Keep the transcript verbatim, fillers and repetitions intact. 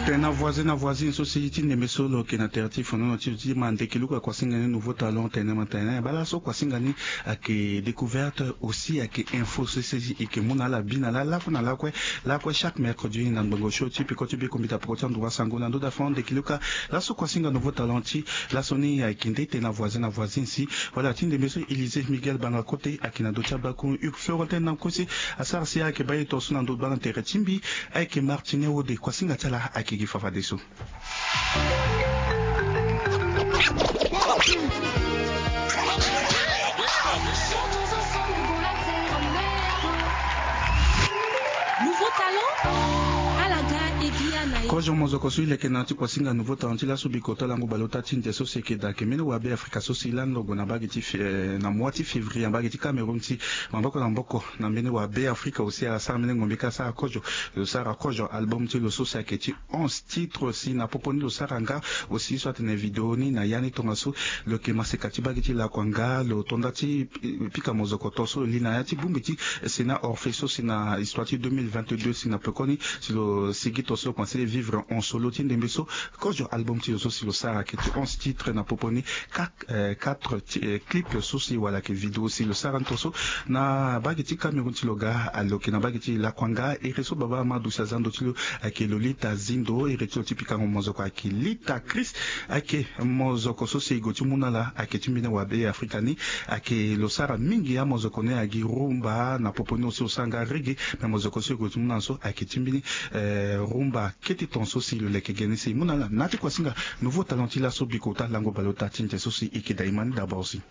Tena voisin na voisine so si ti ndembe so lo yeke na tere ti fonono ti lo ti ma ndeke luku akuasinga ni nouveau talent tene ma tene bala so kuasinga ni ayeke découverte aussi ayeke info so si e yeke mu na ala bi na ala lakue na lakue lakue chaque mercredi na ngbongo show ti peko ti biko mbita peko ti anduru asango na ndö da fond ndeke luka. Laso kuasinga nouveau talent ti laso ni ayeke nde tena voisin na voisine si wala ti ndembe so Élysée Miguel Banga Kote ayeke na ndö ti abakun Hugues Florentin na kue si asara si ayeke baa ye tongaso na ndö baa na tere ti mbi. Ayeke Martine Wode kuasinga ti ala ayeke gi fafadeso. Kozo mozoko so e leke na ya ti kuasinga nouveau talent ti laso bikota lango baleota ti nze so si e yeke daa ayeke mbeni wabe afrika so si lani lo gue na mbage ti na mois ti février na mbage ti Cameroun si maboko na maboko na mbeni wabe afrika aussi asara mbeni ngombe ka asara kozo. Lo sara kozo album ti lo so si ayeke ti onze titre si na popo ni lo sara nga aussi so atene video ni na ya ni tongaso. Lo yeke maseka ti mbage ti lakua nga lo to nda ti pika mozoko tongaso li na ya ti bongbi ti Sénat Orphée so si na histoire ti deux mille vingt-deux si na pekoni si lo sigi tongaso lo komanse vivre en solo ti ndembe so. Kozo album ti lo so si lo sara ayeke ti onze titre na popo ni quatre clip so si wala ayeke video si lo sara ni tongaso na mbage ti Cameroun ti lo ga. Alo yeke na mbage ti lakua nga ere so baba Amadou si aza ndo ti lo ayeke Lolita Zindo ere ti lo ti pikango mozoko ayeke Lita Chris. Ayeke mozoko so si e gue ti mu na ala ayeke ti mbeni wabe afrika ni. Ayeke lo sara mingi amozoko ni agi rumba na popo ni aussi lo sara nga reggae. Me mozoko so e gue ti mu na ala so ayeke ti mbeni rumba kete tongaso si lo leke geni si e mu na ala na ya ti kuasinga nouveau talent ti laso bikota lango baleota ti nze so si e yeke daa e ma ni d'abord si